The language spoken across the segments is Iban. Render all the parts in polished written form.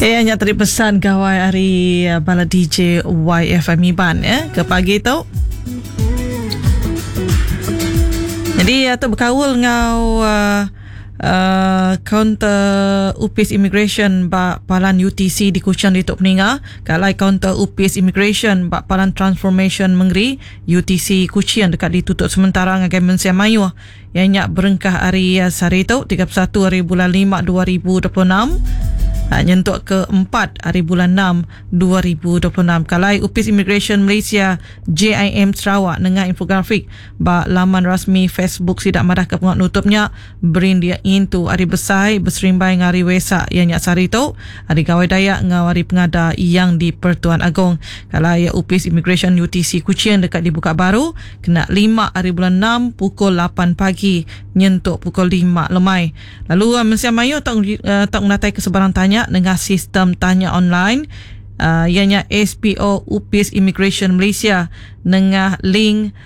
Iya nya tadi pesan gawai ari bala DJ YFM Iban ya ke pagi tu. Jadi tu bekaul enggau uh, uh, kaunter Upis Immigration ba Palan UTC di Kuching ditu peninga ke alai kaunter Upis Immigration ba Palan Transformation Mengeri UTC Kuching deka ditutup sementara ngagai mensia mayuh Iya nya berengkah ari sehari tu, 31 hari bulan lima 2026, nyentuk ke empat hari bulan enam 2026. Kalai Opis Imigresen Malaysia, JIM, Sarawak nengah infografik ba laman rasmi Facebook sida madahka pengawa nutup nya berindik ngintu Hari Besai beserimbai enggau Hari Wesak iya nya sehari tu, Hari Gawai Dayak enggau Hari Pengada Yang di-Pertuan Agong. Kalai Opis Imigresen UTC Kuching deka dibuka baru Kena lima ari bulan enam pukul lapan pagi nyentuk pukul lima lemai. Lalu mensia mayuh tau tau ngenataika sebarang tanya nengah sistem tanya online iya nya SPO Upis Imigresen Malaysia nengah link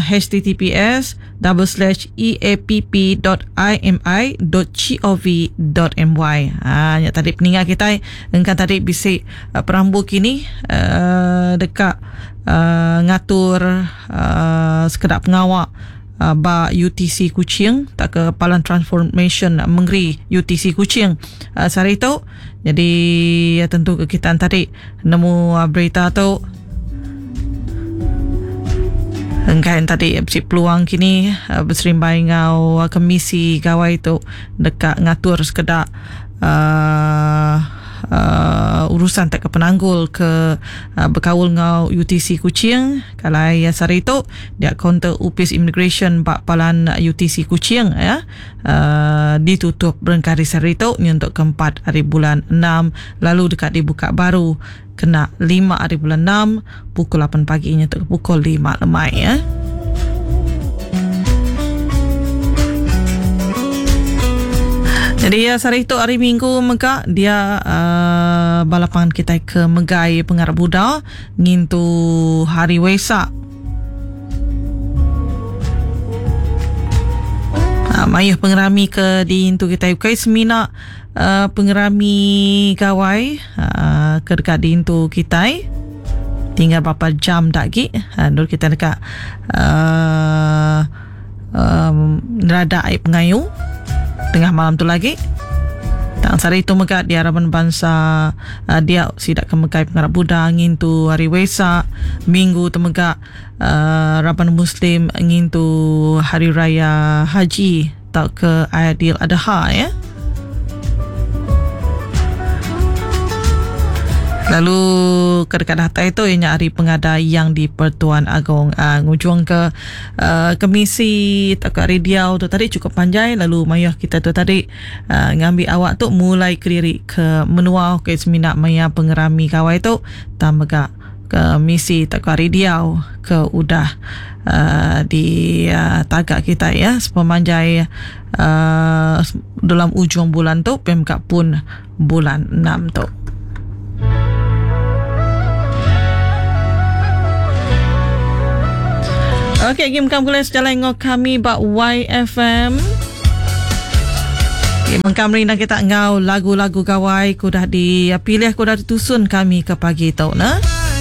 https double slash eapp dot imi dot gov dot my. Ha nya tadi peninga kitai engka tadi bisi perambu kini deka ngatur sekeda pengawa ba UTC Kuching tauka Palan Transformasyen Mengeri UTC Kuching sehari tu. Jadi tentu ke kita tadi nemu berita tu enggai tadi bisi peluang kini beserimbai enggau kemisi gawai tu deka ngatur sekeda uhh urusan tauka penanggul ke bekaul enggau UTC Kuching kalai sehari tu dia kaunter opis imigresen ba palan UTC Kuching iya uhh ditutup berengkah ari sehari tu nyentuk ke empat hari bulan enam lalu deka dibuka baru kena lima hari bulan enam pukul lapan pagi nyentuk ke pukul lima lemai iya. Jadi ya sehari tu hari Minggu mega dia uh, bala pangan kitai ke megai pengarap Buddha ngintu hari Wesak. Uh, mayuh pengerami ke diintu kitai ukai semina uh, pengerami gawai uh, ke deka diintu kitai tinggal berapa jam dak agi uh, endur kitai deka uh, um, neradak ai pengayu tengah malam tu lagi. Tang sehari tu mega dia raban bansa uh, dia sida ke megai pengarap Buddha ngintu hari Wesak, minggu tu mega uh, raban Muslim ngintu hari raya haji tauka Aidil Adha ya. Lalu ke dekat datai tu iya nya hari pengada Yang di-Pertuan Agong. Uh, ngujung ke uh, kemisi tauka hari diau tu tadi cukup panjai lalu mayuh kita tu tadi uh, ngambi awak tu mulai kediri ke menua ke semina maya pengerami gawai tu tang mega ke misi tauka hari diau ke udah uh, di uh, taga kita ya sepemanjai uh, dalam ujung bulan tu pemka pun bulan enam tu. Okey, game kamu boleh sejalan dengan kami ba YFM. Okay, mengkam rindang kita ngau lagu-lagu gawai ku dah dipilih ku dah ditusun kami ke pagi tu nah.